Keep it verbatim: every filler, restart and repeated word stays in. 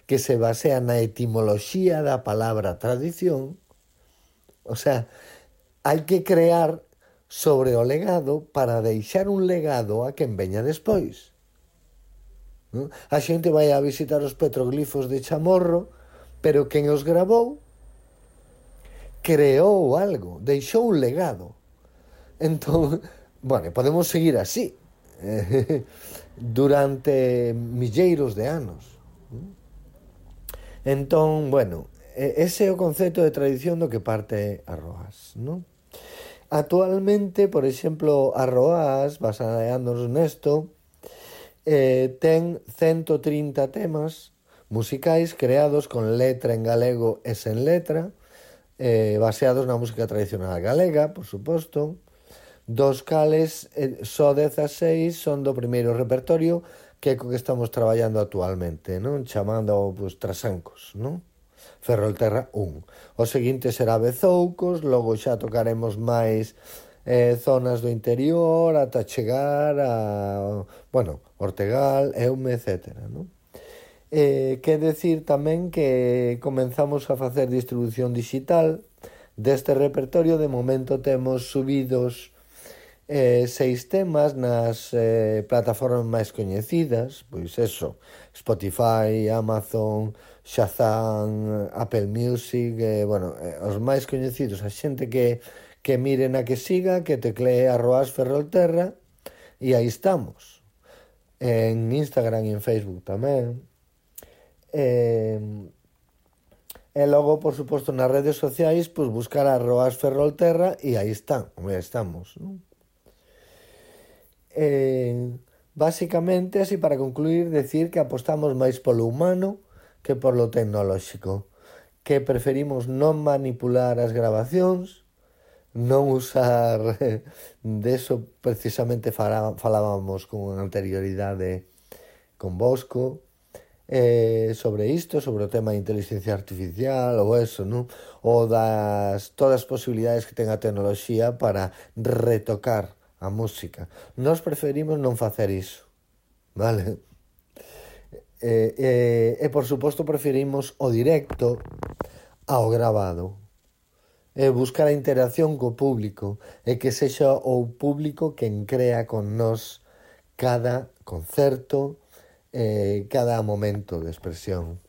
que se basea na etimoloxía da palabra tradición. O sea, hai que crear sobre o legado para deixar un legado a quen veña despois. Non? A xente vai a visitar os petroglifos de Chamorro, pero quen os grabou creou algo, deixou un legado. Entón, bueno, podemos seguir así durante milleiros de anos. Entón, bueno, ese é o concepto de tradición do que parte a Roas, non? Actualmente, por exemplo, a Roas, baseándonos nesto, eh, ten ciento trinta temas musicais creados con letra en galego e sen letra, eh, baseados na música tradicional galega, por suposto, dos cales eh, só dezaseis son do primeiro repertorio que é co que estamos traballando actualmente, non? Chamando, pues, Trasancos, non? Ferrolterra un. O seguinte será Bezoucos, logo xa tocaremos máis eh, zonas do interior ata chegar a, bueno, Ortegal, Eume, etcétera, non? Eh, quer decir tamén que comenzamos a facer distribución digital deste repertorio. De momento temos subidos eh, seis temas nas eh, plataformas máis coñecidas, pois eso, Spotify, Amazon, Shazam, Apple Music, eh, bueno, eh, os máis coñecidos. A xente que, que mire na que siga, que teclee a Roas Ferrolterra, e aí estamos. En Instagram e en Facebook tamén. Eh, e logo, por suposto, nas redes sociais, pues, buscar a Roas Ferrolterra e aí están, aí estamos, non? Eh, básicamente, así para concluir, decir que apostamos máis polo humano que polo tecnolóxico, que preferimos non manipular as grabacións, non usar deso precisamente falábamos con anterioridade con Bosco, eh, sobre isto, sobre o tema de inteligencia artificial ou eso, non? Ou das todas as posibilidades que ten a tecnoloxía para retocar a música. Nós preferimos non facer iso, vale? E, e, e por suposto preferimos o directo ao grabado, e buscar a interacción co público, e que sexa o público quen crea con nós cada concerto, eh, cada momento de expresión.